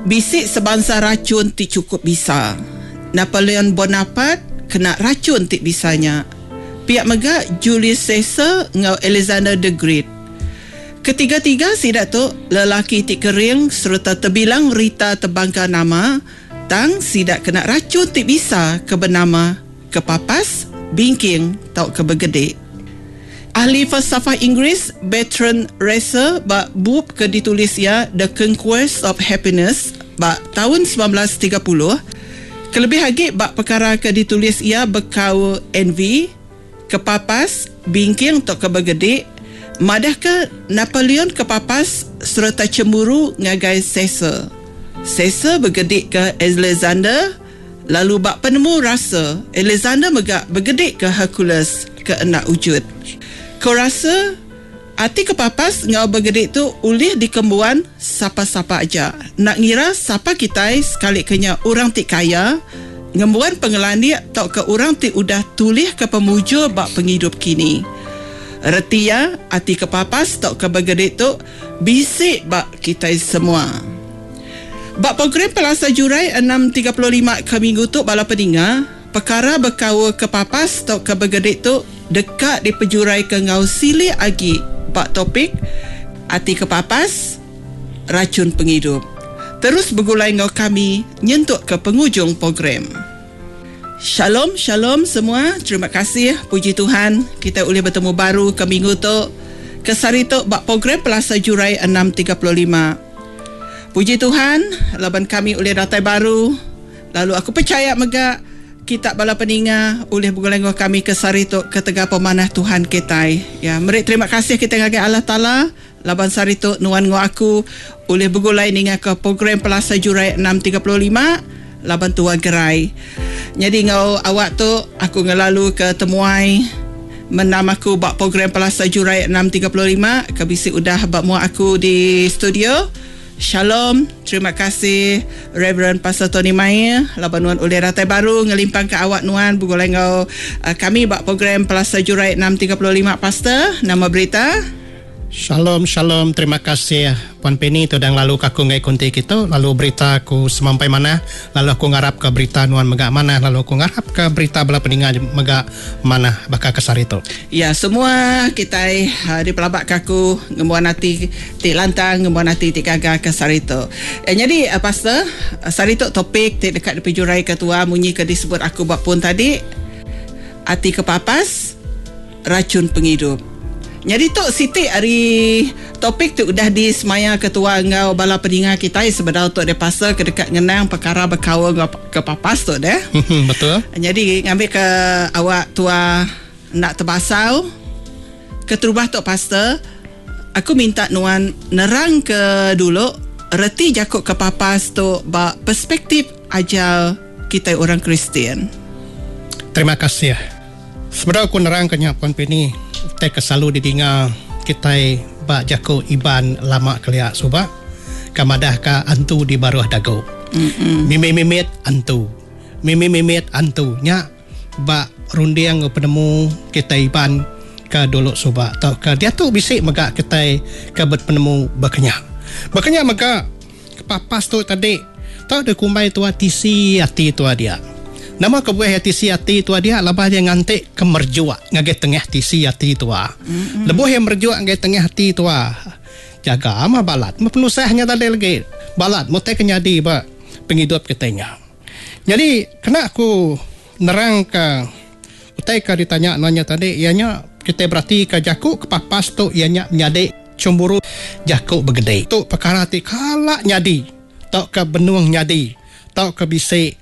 Bisi sebansa rachun ti chukup bisa. Napoleon Bonaparte kena rachun ti bisa nya. Pia mega Julius Caesar enggau Alexander the Great. Ketiga-tiga sida tu lelaki ti kering sereta tebilang rita tebangka nama tang sida kena rachun ti bisa ke benama kepapas, bingking tauka begedi. Ahli falsafah Inggeris Bertrand Russell ba bup ke ditulis iya The Conquest of Happiness ba taun 1930, kelebih agi ba pekara ke ditulis iya bekaul envy, kepapas, bingking tauka begedi, madahka Napoleon kepapas sereta chemburu ngagai Caesar. Caesar begedika Alexander. Lalu ba penemu Russell, Alexander mega begedika Hercules ke enda ujut. Ko Russell, ati kepapas enggau begedi tu ulih dikembuan sapa-sapa aja. Enda ngira sapa kitai sekalika nya orang ti kaya, ngembuan pengelandik tauka orang ti udah tulihka pemujur ba pengidup kini. Reti iya, ati kepapas tauka begedi tu bisi ba kitai semua. Ba program Pelasar Jurai 6:35 ke minggu tu bala peninga, pekara bekaul kepapas tauka begedi tu deka dipejuraika enggau silik agi ba topik Ati Kepapas, Rachun Pengidup. Terus begulai enggau kami nyentuk ke pengujung program. Shalom shalom semua terima kasih puji Tuhan kitai ulih betemu baru ke minggu tu ke sehari tu ba program Pelasar Jurai 6:35. Puji Tuhan laban kami ulih datai baru lalu aku pechaya mega kita bala peninga ulih begulai enggau kami ke sehari tu ketegal pemanah Tuhan kitai. Ya meri terima kasih kitai ngagai Allah Taala laban sehari tu nuan enggau aku ulih begulai ninga ke program Pelasar Jurai 6:35 laban tua gerai. Nyadi enggau awak tu aku ngelalu ke temuai mendam aku ba program Pelasar Jurai 6:35 ke bisi udah ba mua aku di studio. Shalom, terima kasih Reverend Pastor Tony Maie laban nuan ulih datai baru ngelimpangka awak nuan begulai enggau kami ba program Pelasar Jurai 6:35 Pastor. Nama berita? Shalom shalom terima kasih Puan Penny tu udah ngelalu ka aku enggai kunti kitu lalu berita aku semampai manah lalu aku ngarap ka berita nuan mega manah lalu aku ngarap ka berita bala peninga mega manah baka ke sehari tu. Ya semua kitai dipelaba ka aku ngembuan ati ti lantang ngembuan ati ti gaga ke sehari tu. Nyadi pastor sehari tu topik ti deka dipejurai ka tua munyi ke disebut aku ba pun tadi ati kepapas. Rachun pengidup. Nyadi tu siti ari topik ti udah disemaya ketua enggau bala peninga kitai sebedau tu deh pasal ke deka ngenang pekara bekaul enggau kepapas tu deh. Betul. Nyadi ngambika awak tua enda tebasau keterubah tu pastor aku minta nuan nerangka dulu reti jaku kepapas tu ba perspektif ajar kitai orang Kristian. Terima kasih. Sebedau aku nerangka nya Puan Pini, utai ke selalu didinga kitai ba jaku Iban lama kelia suba ke madahka antu di baruh dagu. Mimit-mimit antu. Mimit-mimit antu nya ba runding enggau penemu kitai Iban ke dulu suba tauka diatu bisi mega kitai ke bepenemu baka nya. Baka nya mega Kepapas tu tadi tau dikumbai tua tisi ati tua dia. Nama kebuah iya tisi ati tua dia laban iya nganti ke merejuk ngagai tengah tisi ati tua. Lebuh iya merejuk ngagai tengah ati tua, jaga mah balat meh penusah nya tadi legi. Balat meh utai ke nyadi ba pengidup kitai nya. Nyadi kena aku nerangka utai ke ditanya nuan nya tadi iya nya kitai beratika jaku kepapas tu iya nya menyadi Chemburu jaku begedi. Tu pekara ti kala nyadi tauka benung nyadi tauka bisi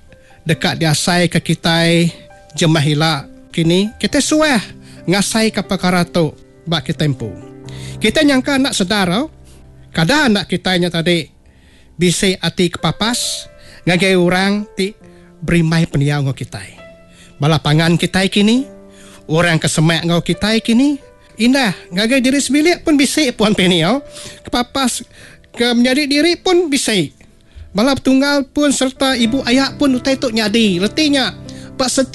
deka diasaika kitai jemah ila kini kitai suah ngasaika pekara tu ba kitai empu. Kitai nyangka enda sedar au kada enda kitai nya tadi bisi ati kepapas ngagai orang ti berimbai pendiau enggau kitai. Bala pangan kitai kini, orang ke semak enggau kitai kini. Indah, ngagai diri sebilik pun bisi Puan Penny au. Kepapas ke menyadi diri pun bisi. Bala petunggal pun sereta ibu aya pun utai tu nyadi. Reti nya, ba setiap.